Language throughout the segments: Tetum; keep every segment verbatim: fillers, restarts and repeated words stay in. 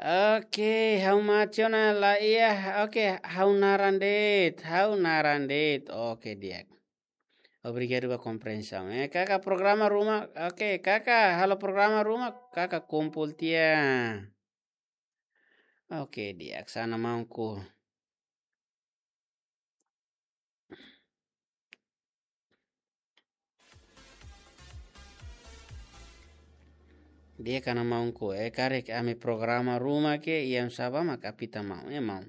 Oke, ha'u mate ona la iha. Oke, ha'u naran de'it, ha'u naran de'it. Oke, di'ak. Obrigadu ba komprensaun. Eh, kaka programa ruma. Oke, kaka halo programa ruma, kaka kumpul tiha. Oke, di'ak, hanesan maun Ku. Di'ak, hanesan maun Ku, eh, karik ami programa ruma ke, iha oinsá ba mak apita maun, eh, maun.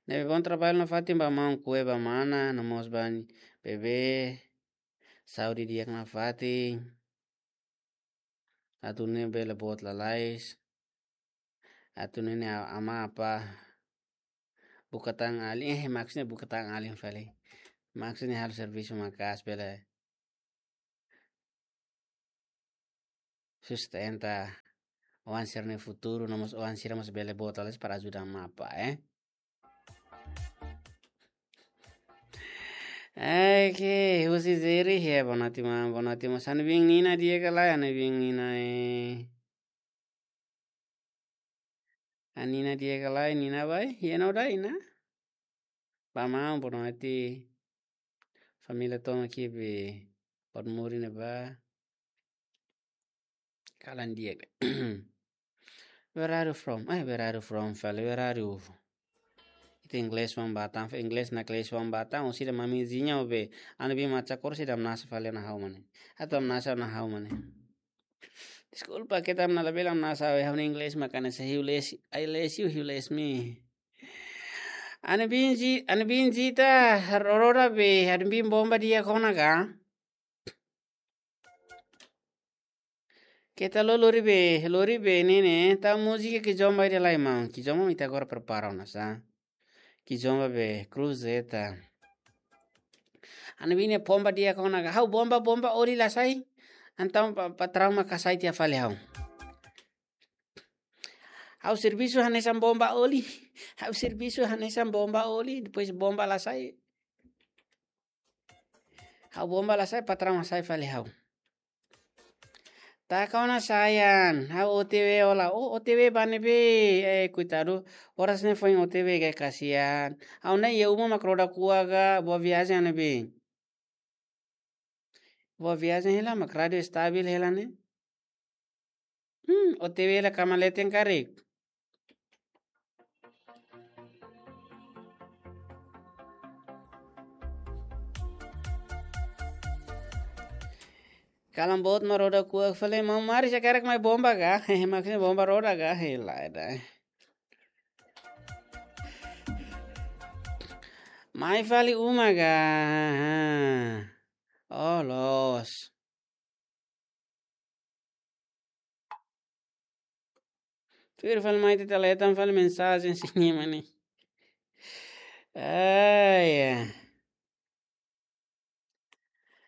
Ne'ebé bom trabalho nafatin ba maun Ku, eh, ba mana, no mós ba bebé. Saúde di'ak nafatin. Atu nune'e bele boot lalais. Atu nune'e a-, ama apa. Buka tan alin, eh, maksudnya buka tan alin fali. Maksudnya halo servisu maka'as bele sustenta oan sira-nia futuru, no mós oan sira mós bele boot lalais para ajuda ama apa, eh. Oke, husi Zeri, ya, boa noite, maun, boa noite, maun. Hanesan biin Nina di'ak ka lae, hanesan biin Nina, eh. Hanesan Nina di'ak ka lae, Nina baibain, iha ona duni, Nina? Ba maun, boa noite. Família tomak iha be, hot muri ne'ebá. Kalan di'ak. Where are you from? Eh, where are you from, fali? Where are you? Ita inglés wan batan, fe inglés na inglés wan batan, o sida mami zinya o be. Hanesan biin Macha Kor sida hamnasa fali ona ha'u mane. Atu hamnasa ona ha'u mane. Deskulpa, keta hamnasa labele hamnasa, we, ha'u-nia inglés mak hanesan hiu lesi, I lesi you, hiu lesi mi. Hanesan biin Zi-, hanesan biin Zita, roda be, hanesan biin bomba di'ak ona ka? Keta lori be, lori be ne'e ne'e, tau múzika Kizomba ida lai maun. Kizomba mak ita agora prepara ona sa. Kizomba be, Cruz Zeta. Hanesan biin ne'e bomba di'ak ona ka. Ha'u bomba, bomba oli la sai. Entaun pa, patraun mak hasai tiha fali ha'u. Ha'u servisu hanesan bomba oli. Ha'u servisu hanesan bomba oli. Depois bomba la sai. Ha'u bomba la sai, patraun hasai fali ha'u. Taka ona sayang, ha'u O T W hola. Oh, O T W ba ne'ebé, eh, koitadu. Oras ne'e foin O T W ka, kasihan. Ha'u ne'e iha uma mak roda kuak ka, boa viagem ne'ebé. Boa viagem hela, mak rádiu estabil hela ne'e. Hmm, O T W la kama leten karik. Kalan boot mak roda kuak fali, maun Mari, se karik mai bomba ka? Maksudnya bomba roda ka? Hela, eda. Mai fali uma ka? Oh, loos. Tuir fali mai tita letan fali mensajen sini mani. Ai, ya.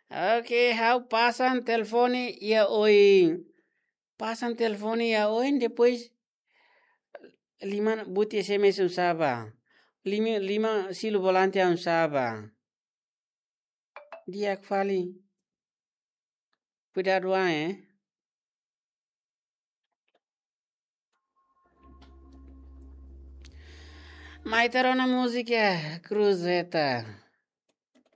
Oke, ha'u pasan telefone iha oin. Pasan telefone iha oin, depois liman buti S M S oinsá ba. Lima, lima silu volante oinsá ba. Di'ak fali. Kuidadu an, eh. Mai ita rona múzika Cruz Zeta.